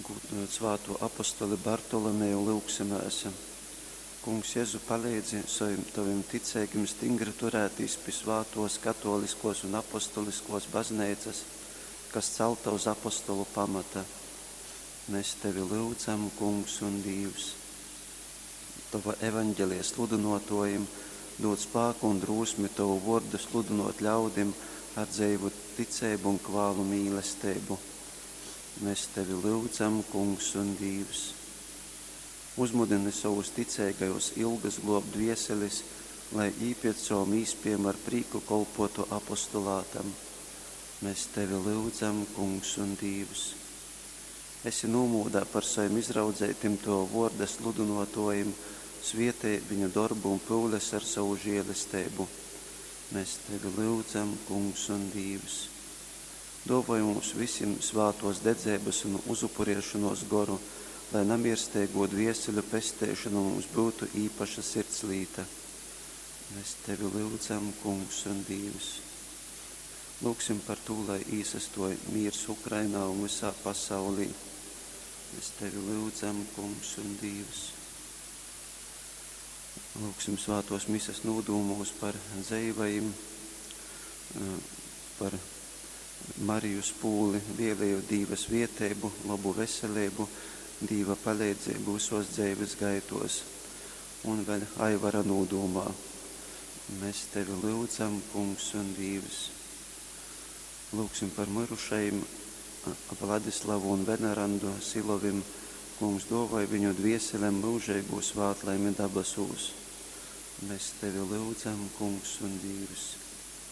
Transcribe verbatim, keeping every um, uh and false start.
Gūdynojot svātū apostoli Bartolomeju, lyugsimēs. Kungs Jezu, paleidzi sovim tovim ticeigim stingri turētīs pi svātōs katōliskōs un apostoliskōs bazneicas, kas calta uz apostolu pamata. Mēs tevi lyudzam, Kungs un Dīvs. Tova evaņgelija sludynōtōjim dūd spāku un drūsmi tovu vōrdu sludynōt ļaudim ar dzeivu ticeibu un kvālu mīlesteibu. Mēs tevi lyudzam, Kungs un Dīvs. Uzmudini sovus ticeigajus ilgas globt dvieselis, lai jī piec sovom īspiejom ar prīku kolpuotu apostolātam. Mēs tevi lyudzam, Kungs un Dīvs. Esi nūmūdā par sovim izraudzeitim tova vuorda sludynuotuojim, svietej viņu dorbu un pyules ar sovu žielesteibu. Mēs tevi lyudzam, Kungs un Dīvs. Duovoj mums vysim svātuos dedzeibys un uzupuriešonuos goru, lai namiersteigū dvieseļu pesteišona mums byutu īpaša sirdslīta. Mēs tevi lyudzam, Kungs un Dīvs. Lūgsim par tū, lai īsastuoj mīrs Ukrainā un vysā pasaulī. Mēs tevi lyudzam, Kungs un Dīvs. Lūgsim svātuos mises nūdūmūs par dzeivajim, par Mariju Spūli, vieleju Dīva svieteibu, lobu veseleibu, Dīva paleidzeibu vysuos dzeivis gaituos. Un vēļ Aivara nūdūmā. Mēs tevi lyudzam, Kungs un Dīvs. Lūgsim par myrušajim Vladislavu un Venerandu Silovim. Kungs duovoj viņu dvieselem myužeigū svātlaimi dabasūs. Mēs tevi lyudzam, Kungs un Dīvs.